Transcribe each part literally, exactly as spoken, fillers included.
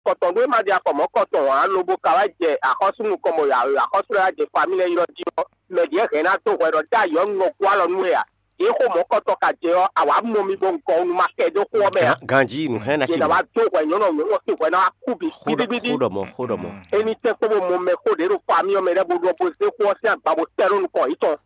afɔ tɔn ɖó é ma ɖi afɔ mɔ̌kɔtɔn ǎ, lobo ka wá jɛ axɔ́sú nukɔn bɔ axɔ́sú lɛ́ɛ wá jɛ famí lɛ́ɛ ylɔ́ jí ɔ́, mɛ ɖě hɛn ná dó hwɛ ɖɔ dó ayǐ ɔ́, un nɔ gɔ́ alɔ nú we ǎ. Yě xo mɔ̌kɔtɔn ka jɛ ɔ́, a wǎ mɔ mi bɔ un gɔn un ma kɛ dó xó ɔ́ mɛ ǎ. Ganjí nǔ hɛn ná Yě ci ná wá dó hwɛ nyɔ̌nu ɔ́, nyɔ̌nu ɔ́ sín hwɛ ná wá kú bǐ xóɖɔ xóɖɔ mɔ xóɖɔ mɔ. Éní tɛ́ kpó bó mɔ mɛ xó ɖě ɖo famí ɔ́ mɛ lɛ́ɛ bó ɖɔ bó zé xó ɔ́ sín agba bó tɛ́ ɖó nukɔn yětɔn,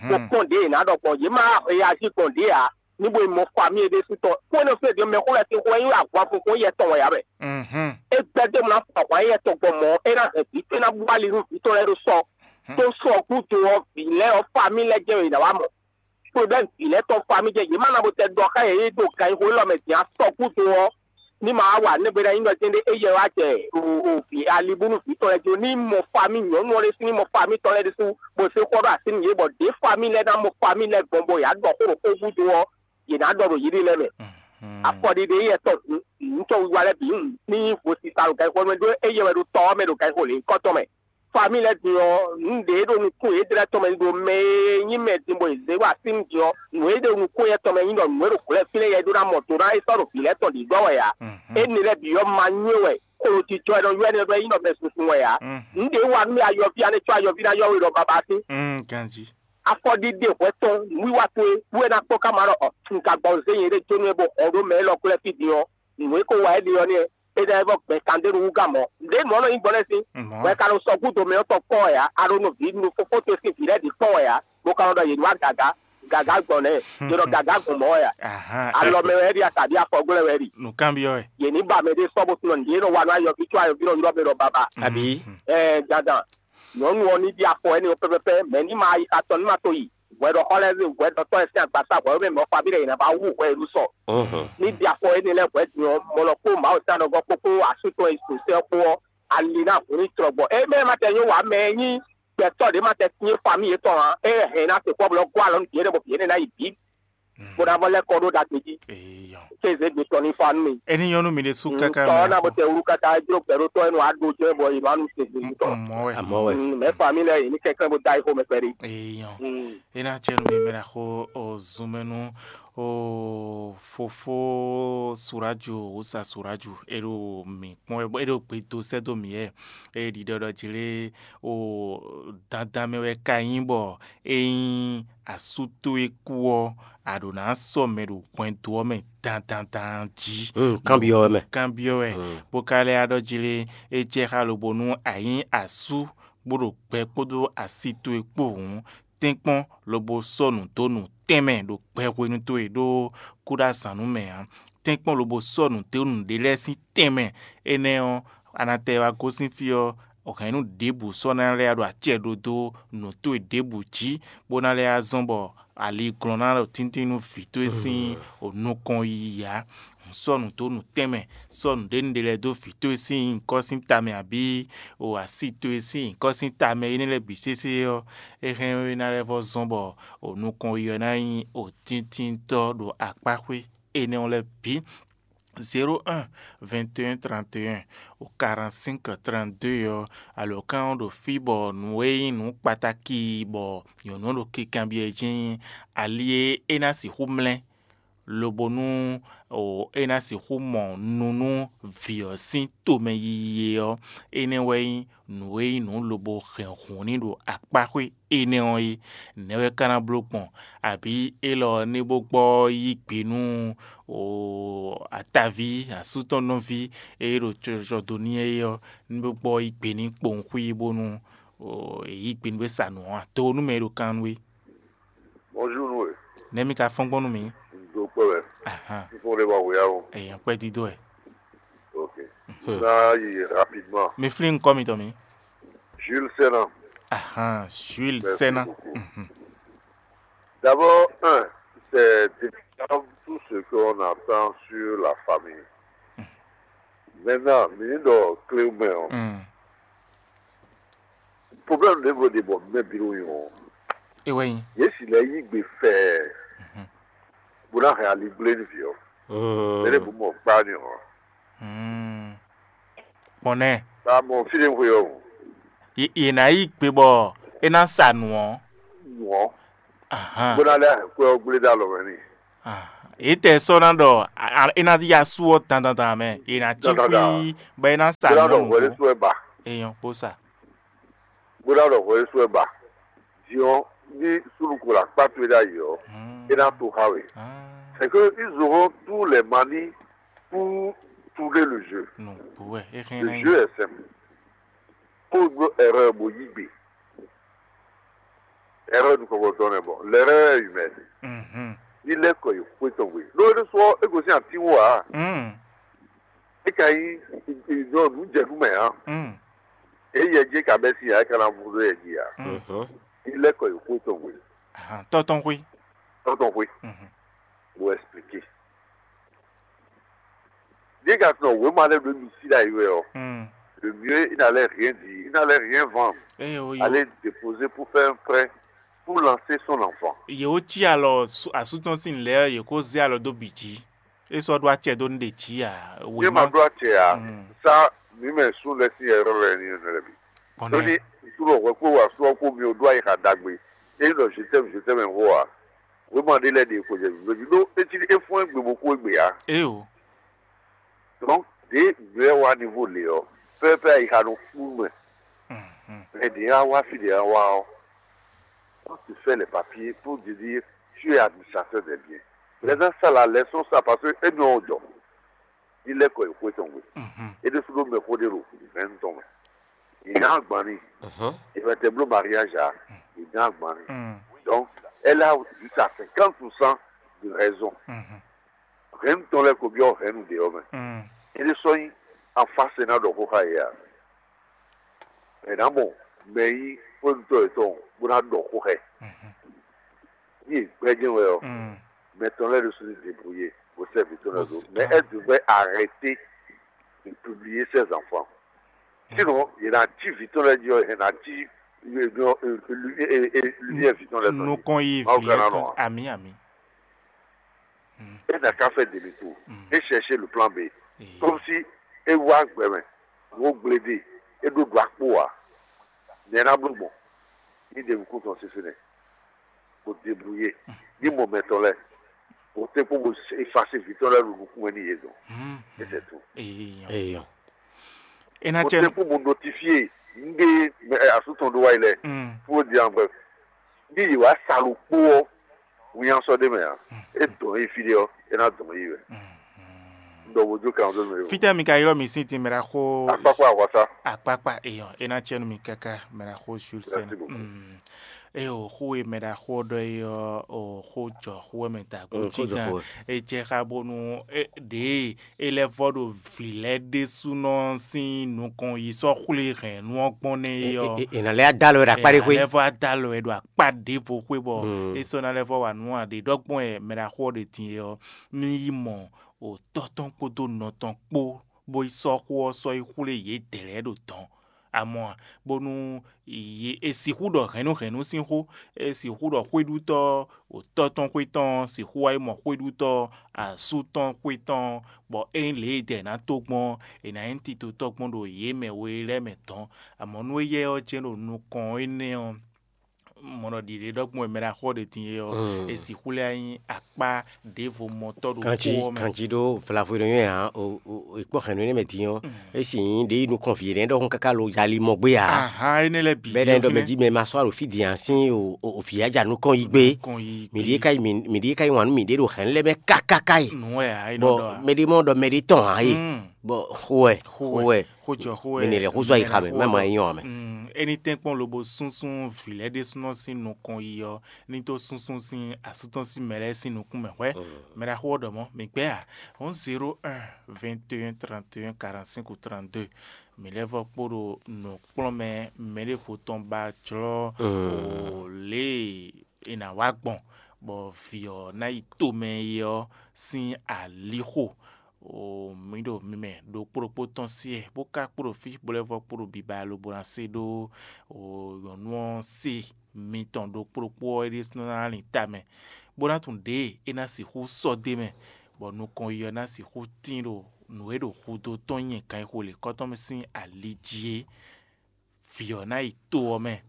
bó kpɔ́n ɖě è nǎ ɖɔ gbɔn. Yě má reazi gbɔn ɖě ǎ, ní bó yi mɔ famí e ɖésú tɔn. Xó énɛ́ fí e ɖě mɛxó lɛ́ɛ sín xó wɛ nyí wɛ ahwanfunkún yɛ tɔn wɛ ǎ wɛ. É gbɛ́ dó mɔ ná fɔ ahwan éyɛ́ tɔn gbɔn mɔ̌, é ná hɛn vǐ tɔn, é ná bú ali nú vǐ tɔn lɛ́ɛ ɖó sɔ. Tó sɔ ɔ́ gúdo ɔ́, vǐ lɛ́ɛ ɔ́, famí lɛ́ɛ jɛ́n wɛ è nǎ wá mɔ. Problɛ́mu vǐ lɛ́ɛ tɔn famí jɛ́n, yě má ná bo tɛ ɖɔ xá yě ɖo ganxixo élɔ́ mɛ din ǎ. Sɔ gúdo ɔ́, ní ma wá wa nɛgbé ná nyí ɖɔ jɛ́n ɖé éyɛ́ wá jɛ o vǐ alibúnú vǐ tɔn lɛ́ɛ jó, ní mɔ famí nyɔ̌nu ɔ́ ɖésú, ní mɔ famí tɔn lɛ́ɛ ɖésú, bó zé xɔ ɖó así nú yě, bɔ ɖě famí lɛ́ɛ ná mɔ famí lɛ́ɛ gbɔn bɔ yě á ɖɔ xó ɖo xó gúdo ɔ́, yě ná ɖɔ ɖo yěɖée lɛ́ɛ mɛ. Afɔɖiɖe éyɛ́ tɔn nǔtɔ́ wiwa lɛ́ɛ bǐ ní nyí vo sisa ɖo ganxixo mɛ ɖó éyɛ́ wɛ ɖo tɔ ɔ́ mɛ ɖo ganxixo lěhunkɔtɔn mɛ. Famí lɛ́ɛ din ɔ́, nǔ ɖě ɖo nukún yědɛ́ tɔn mɛ ɖo mɛ e nyí mɛ din bɔ è zě wa sín din ɔ́, nǔ e ɖo nukún yɛ́ tɔn mɛ nyí ɖɔ nǔ e ɖo gǔlɛ́ fínɛ́ yɛ é ɖó ná mɔ do ná é sɔ́ ɖo vǐ lɛ́ɛ tɔn ɖǐɖɔ́ wɛ ǎ. Énɛ́ lɛ́ɛ bǐ ɔ́ ma nywé wɛ, xolojijɔ e nɔ ylɔ́ énɛ́ ɖɔ é nyí nɔ mɛ sunsun wɛ ǎ. Nǔ ɖě wa nú mì ayɔví ɔ́, ná cɔ́ ayɔví ná ylɔ́ we ɖɔ babá sín. Ganjí. Afɔɖiɖe hwɛ tɔn nǔwiwa towe wú é ná kpɔ́n ká ma ɖɔ ɔ, un ka gbɔ zé nyɛɖée jó nú é bó hɔn ɖó mɛ élɔ́ glɛ́ fí din ɔ́, nǔ e ko wa é ɖe ɔ́ nɛ́, é ná yi vɔ gbɛn kan ɖé nú wúgá mɔ̌. Nǔɖé nǔ ɔ́ nɔ nyí gbɔn lɛ́ɛ sín, bɔ é ka nɔ sɔgúdo mɛ ɔ́ tɔn kpɔ́n wɛ ǎ, a ɖo nɔ vǐ nú fofó towe sín vǐ lɛ́ɛ ɖě kpɔ́n wɛ ǎ, bó ka nɔ ɖɔ yě ní wá gǎgá, gǎgá gbɔn nɛ́, yě nɔ gǎgá gbɔn mɔ̌ wɛ ǎ. Alɔ mɛ wɛ é ɖi a, tàbí afɔgblɛ́ wɛ é ɖi? Nǔkanbyɔ́ wɛ. Yě ní ba mɛ ɖé sɔ́ bó tunɔ nǔɖé nɔ wa nú ayɔví có ayɔví nɔ ylɔ́ mɛ ɖɔ babá. Abǐ? Ɛɛ, dandan. Nyɔ̌nu ɔ́ ní ɖi afɔ énɛ́ ɔ́ pɛ́pɛ́pɛ́, mɛ̌ ní ma yi xatɔn ní ma to yi? Hwɛɖɔxɔ lɛ́ɛ zé hwɛɖɔtɔ́ lɛ́ɛ sín agbaza hwɛ̌ mɛ ɔ́, fabí ɖɛ yě ná ba wú hwɛ e ɖu sɔ. Ní ɖi afɔ énɛ́ lɛ́ɛ hwɛ̌ din ɔ́, mɔ lɔ kpó Mawu sín anɔgɔ́ kpó kpó asú tɔn e ɖo sɛ́ ɔ́ kpó ɔ́, ali ná hun ní tlɔ gbɔ. É mɛ ma tɛ nyɔ́ wǎ mɛ e nyí gbɛtɔ́ ɖě ma tɛ syɛ́n famí yětɔn ǎ, é hɛn ná se kpɔ́ bɔ lɔ́ gɔ́ alɔ nú yě ɖɛ bɔ yě ná yi bǐ, bó ná vɔ lɛ́ kɔ ɖó ɖagbe jí. Kéze gbe tɔn ní fa nú mi. É ní nyɔ́ nú mi ɖésú káká. Tɔ́ ɔ́ ná bó tɛ wú káká jló gbɛɖótɔ́ e nɔ wá ɖó jɛ́n bɔ è nɔ wá nu tɛgbɛ tɔn. Mɔ̌ wɛ. Amɔ̌ wɛ. Mɛ famí lɛ́ɛ yě ní kɛnklɛ́n bó dó ayixo mɛ kpɛɖé. Èèyàn. É ná jẹ́ nú mi mɛ ɖaxó o zunmɛnú o fofó Suraju, Wusa Suraju, é ɖo mǐ kpɔ́n wɛ, é ɖo gbe dó sɛ́ dó mǐ wɛ. É ɖiɖɔ ɖɔ jlé o dandan mɛ wɛ ka nyí bɔ ényí asú towe kú ɔ́, a ɖǒ ná sɔ́ mɛ ɖo hwɛndo ɔ́ mɛ dandandan jí. Kanbyɔ́ wɛ mɛ. Kanbyɔ́ wɛ, bó ka lɛ́ ɖɔ jí lé, é jɛ xá lobo nú a nyí asú, bó ɖo gbɛ kpódó asi towe kpó hǔn, tɛ́nkpɔ́n lobo sɔ́ nǔ dó nǔ tɛnmɛ ɖo gbɛ hwenu towe ɖó kúɖazǎnnú mɛ ǎ. Tɛ́nkpɔ́n lobo sɔ́ nǔ dó nǔɖé lɛ́ɛ sín tɛnmɛ. Énɛ́ ɔ́, a nǎ tɛ wá gosín fí ɔ́, hɛ̌nnu ɖěbǔ sɔ́ ná lɛ́ ɖo acɛ ɖó dó nǔ towe ɖěbǔ jí, bó ná lɛ́ zɔ́n bɔ ali glɔ́n ná ɖo tíntín nú vǐ towe sín nukɔn yiyi ǎ. Sɔ́ nǔ dó nǔ tɛnmɛ, sɔ́ nǔɖé nǔɖé lɛ́ɛ dó vǐ towe sín nyǐkɔ sín tamɛ abǐ o asi towe sín nyǐkɔ sín tamɛ énɛ́ lɛ́ɛ bǐ sésé ɔ́, é hɛn ɔ́ é ná lɛ́ vɔ́ zɔ́n bɔ o nukɔn yiyi ɔ́ ná nyí o tíntíntɔ́ ɖo akpáxwé énɛ́ ɔ́ lɛ́ɛ bǐ. Zéro un, vingt et un, trente et un, o quarante-cinq, trente-deux ɔ́, alǒkan ɔ́ ɖo fí bɔ nǔ e nyí nǔ kpatáki bɔ nyɔ̌nu ɔ́ ɖo kikanbyɔ́ ɛ jí nyí ali e é ná sixú mlɛ́, lobo nú o é ná sixú mɔ nu nú vǐ ɔ́ sín tomɛ yiyi é ɔ́, énɛ́ wɛ nyí nǔ e nyí nǔ lobo hɛn hǔn n'i ɖo akpáxwé énɛ́ ɔ́ é. Nɛ̌ wɛ ka ná bló gbɔn? Abǐ élɔ́ ní bó gbɔ yí gbe nú ataví asú tɔn nɔví e ɖo cɔjɔ dó n'i é ɔ́, ní bó gbɔ yí gbe n'i kpowun xwí bónú è yí gbe nú é sa nǔ ɔ́ a? Do nú mɛ e ɖo kan nú we. Bonjour nú we. Nɛ̌ mi ka fɔ́n gbɔn nú mǐ? Un do kpɛ́ wɛ. Ahan. Fífɔ́n ɖé wá wǔyá o. Èèyàn pẹ́ dídó ɛ. Ok. Ná yi rapidement. Mi flín nukɔ mitɔn mi. Jules Sena. Ahan, Jules Sena. D'abord, un, c'est déplorable tout ce qu'on entend sur la famille. Maintenant, mi ní ɖɔ clé mɛ ɔ́, problème ɖěvo ɖe bɔ mɛ bǐ ɖo nyɔ ɔ́, é wɛ nyí. Yě si lɛ́ yí gbe fɛɛ bó ná hɛn ali gblé nú vǐ ɔ́. Mɛ ɖěbǔ mɔ gbá ni ɔ́. Gbɔn nɛ́. Ba mɔ fí ɖé xwe ɔ́. Yě ná yí gbe bɔ é ná sa nǔ ɔ́. Nǔ ɔ́. Ahan. Bó ná lɛ́ hɛn kwɛ́ ɔ́ gblé dó alɔ mɛ n'i. Ah, Etɛ́ sɔ́ ná ɖɔ é ná yá sú ɔ́ dandandan mɛ, è nǎ cí xwí bɔ é ná sa nǔ. Bó ná ɖɔ hwɛ ɖésú wɛ ba. Èèyàn kpó sa. Bó ná ɖɔ hwɛ ɖésú wɛ ba. Diɔ ní súnnu ko la kpá towe ɖ'ayǐ ɔ́, é ná to xá we. C'est que ils auront tous les manies pour tourner le jeu. Nǔgbó wɛ é hɛn. Le jeu est simple. Kó ɖó erreur bó yí gbe. Erreur nukɔn tɔn nɛ bɔ l'erreur est humaine. Ní lɛ́ kɔ yi xwé tɔn gbe. Ɖó é ɖésú ɔ́, é gosín atín wú ǎ. É ka nyí nǔ jɛ nú mɛ ǎ. É yɛ jí é ka bɛ́ sín ǎ, é ka ná vú ɖó yɛ jí ǎ. Ní lɛ́ kɔ yi xwé tɔn gbe. Tɔ́ tɔn xwé. Tɔ́ tɔn xwé. Bó expliquer. Ɖé ka tunɔ wěma lɛ́ɛ ɖo émi sí ɖ'ayǐ wɛ ɔ́, le mieux il n'allait rien dire, il n'allait rien vendre. Eye o yo. Aller déposer pour faire un prêt pour lancer son enfant. Yě wó cí alɔ asútɔn sín lɛ́ɛ yě kó zé alɔ dó bǐ jí. É sɔ́ ɖó acɛ dó nú ɖě jí ǎ. Ní ma ɖó acɛ ǎ, sá mǐ mɛ sún lɛ́ sín ɛrɔ́ lɛ́ɛ ní nɔ lɛ́ bǐ. Tóní súnɔ hwɛ kpó wa sú ɔ́ kpó mi ò ɖó ayixa ɖagbe. É nyí ɖɔ je t'aime, je t'aime xó ǎ. Wěma ɖé lɛ́ɛ ɖe xwe jɛ mǐ jí ɖó é cí é fɔ́n égbé bó kú égbé ǎ. Éyo. Donc ɖě nǔ lɛ́ɛ wá niveau lě ɔ́, pɛ́pɛ́ ayixa nɔ kú mɛ. Mɛ ɖě wá wá fí ɖě wá wá ɔ́, quand tu fais les papiers pour te dire tu es administrateur des biens, les gens ça la leçon ça parce que é nɔ jɔ. Ní lɛ́ kɔ yi xwé tɔn gbe. É ɖésú ɖó mɛxó ɖé ɖo hɛ̌nnu tɔn mɛ. È nǎ agban n'i. È mɛ tɛ bló mariage ǎ. È nǎ agban n'i. Donc elle a jusqu'à cinquante pour cent de raison. Hɛ̌nnu tɔn lɛ́ɛ ko byɔ́ hɛ̌nnu ɖě ɔ́ mɛ. É ɖé sɔ́ nyí afáse ná ɖɔ xó xá yě ǎ. È nǎ mɔ mɛ e nyí xwénútɔ́ yětɔn bó ná ɖɔ xó xá ɛ. Ní è gbɛ́ jɛ́n wɛ ɔ́, mɛ tɔn lɛ́ɛ ɖésú ní débrouiller bó sɛ́ vǐ tɔn lɛ́ɛ dó. Mais elle devrait arrêter de publier ses enfants. Sinon, yě ná cí vǐ tɔn lɛ́ɛ jí ɔ́, yě ná cí lumière vǐ tɔn lɛ́ɛ tɔn. Nukɔn yi vǐ tɔn. Ami ami. É ná ká fɛ demi tour. É chercher le plan B. Comme si é wá gbɛ mɛ, wó gblé ɖe, é ɖó ɖo akpó ǎ. Nɛ̌ ná bló gbɔn? Ní ɖe nukún tɔn sín fínɛ́, bó débrouiller, ní mɔ mɛ tɔn lɛ́ɛ, bó tɛ́nkpɔ́n bó fasi vǐ tɔn lɛ́ɛ ɖo nukún wɛ n'i yě dɔn. É sɛ tout. Èèyàn. Èèyàn. É ná Bó cɛ tɛ́nkpɔ́n bó notifier nǔɖé asú tɔn ɖó wáyi lɛ́ɛ, fún ó di an bref. Ní yě wá sa ɖokpó ɔ́, winnyá sɔ́ ɖ'é mɛ ǎ. É dɔn yí fí ɖé ɔ́, é ná dɔn yí wɛ. Un ɖɔ bó jó kan dó mɛ. Fítɛ́ mi ka ylɔ́ mì sín tínmɛ ɖo axó Akpákpá ahwasá. Akpákpá èèyàn é ná cɛ́ nú mi káká mɛ ɖo axó Jules Sɛn. Eye o xó e mɛ ɖo axó ɔ́ ɖɔ é ɔ́, o xó jɔ xó wɛ mɛ ta kó cí gán. É jɛ xá bónú ɖěe é lɛ́ vɔ́ ɖo vǐ lɛ́ɛ ɖésúnɔ sín nukɔn yi sɔ́ xwlé hɛ̌nnu ɔ́ gbɔn nɛ́ é ɔ́. È nǎ lɛ́ adá lɔ wɛ ɖo akpá ɖé xwé. È nǎ lɛ́ vɔ́ adá lɔ wɛ ɖo akpá ɖěvo xwé bɔ é sɔ́ ná lɛ́ vɔ́ wa nǔ a ɖě ɖɔ gbɔn wɛ mɛ ɖo axó ɔ́ ɖe din é ɔ́, ní yi mɔ o tɔ́ tɔn kpódó nɔ tɔn kpó, bó yi sɔ́ xó ɔ́ sɔ́ yi xwlé yědɛɛ lɛ́ɛ ɖo dɔ̌n. Amɔ̌, bónú è sixú ɖɔ hɛ̌nnu hɛ̌nnu sín xó, è sixú ɖɔ xwéɖutɔ́, o tɔ́ tɔn xwé tɔn sixú wá yi mɔ xwéɖutɔ́ asú tɔn xwé tɔn, bɔ ényí lě e dɛ è nǎ tó gbɔn ɔ́, è nǎ nyí titotɔ́ gbɔn ɖo yě mɛ we lɛ́ɛ mɛ dɔ̌n. Amɔ̌ nú éyɛ́ ɔ́ jɛ́n ɖo nukɔn énɛ́ ɔ́, mɔ̌ ɖɔ ɖiɖe ɖɔ gbɔn è mɛ ɖo axɔ ɖe din é ɔ́, è sixú lɛ́ nyí akpá ɖěvo mɔtɔ́ ɖo xó ɔ́ mɛ. Kanjí ɖó vlavo ɖo nyɔ́ ǎ, è kpɔ́ hɛ̌nnu énɛ́ mɛ din ɔ́, é sì nyí ɖě yi nukɔn vǐ énɛ́ ɖɔhun káká lo yali mɔ gbé ǎ. Ahán énɛ́ lɛ́ɛ bǐ. Bɛ́ ɖɔ mɛ jí mɛ ma sɔ́ ɖo fí din ǎ sín o vǐ aja nukɔn yi gbé. Mǐ ɖíe ka yi mǐ ɖíe ka yi wǎn nú mǐɖée ɖo hɛ̌nnu lɛ́ɛ mɛ kákáká yi. Nǔ wɛ ǎ é nɔ ɖɔ ǎ. Mɛɖé mɔ ɖɔ mɛɖé tɔn ǎ é. Bɔ xó wɛ xó wɛ xó jɔ xó wɛ. Mɛ lɛ xó zɔ yi xa mɛ mɛ ma nyɔ mɛ. Eni tɛnkpɔn lobo súnsún vǐ lɛ́ɛ ɖésúnɔ sín nukɔn yi ɔ́, ní tó súnsún sín asú tɔn sín mɛ lɛ́ɛ sín nukún mɛ hwɛ́. Mɛ ɖaxó ɔ́ ɖɔ mɔ̌, mǐ gbɛ́ a? Hɔn zéro un, vingt et un, trente et un, quarante-cinq ou trente-deux. Mǐ lɛ́ vɔ́ kpo ɖo nǔkplɔ́nmɛ mɛɖěvo tɔn ba jlɔ́ o lě e è nǎ wá gbɔn, bɔ vǐ ɔ́ ná yi tomɛ é ɔ́ sín alixo. O mǐ ɖo mi mɛ ɖokpó ɖokpó tɔn sí ɛ, bó ka kpo ɖo fí, bó lɛ́ vɔ́ kpo ɖo biba lobo ná se ɖó o nyɔ̌nu ɔ́ se mitɔn ɖokpó ɖokpó ɔ́ é ɖésú ná lin ta mɛ, bó ná tunwun ɖěe é ná sixú sɔ́ d'é mɛ, bɔ nukɔn yi ɔ́ ná sixú tín ɖo nǔ e ɖo hudo tɔn nyɛ kan e xo lě kɔ́tɔn mɛ sín ali jí é. Vǐ ɔ́ ná yi to ɔ́ mɛ.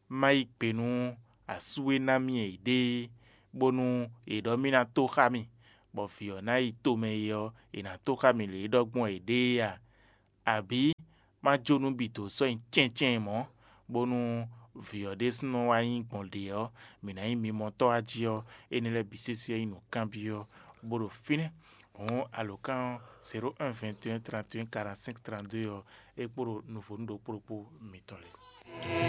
Má yí gbe nú asú e ná mì è ɖe é, bónú è ɖɔ mì ná tó xá mì, bɔ vǐ ɔ́ ná yi tomɛ é ɔ́, è nǎ tó xá mì lě e ɖɔ gbɔn è ɖe é a? Abǐ má jó nǔ bǐ dó sɔ́ nyi cɛ́ncɛ́n mɔ̌, bónú vǐ ɔ́ ɖésúnɔ wá nyí gbɔn ɖě ɔ́, mǐ ná nyí mimɔtɔ́ wá jí ɔ́, énɛ́ lɛ́ɛ bǐ sésé nyí nǔkanbyɔ́, bó ɖo fínɛ́. Hǔn alǒkan ɔ́, zéro un vingt et un trente et un quarante-cinq trente-deux ɔ́, é kpo ɖo nǔvónú ɖokpó ɖokpó mitɔn lɛ́ɛ.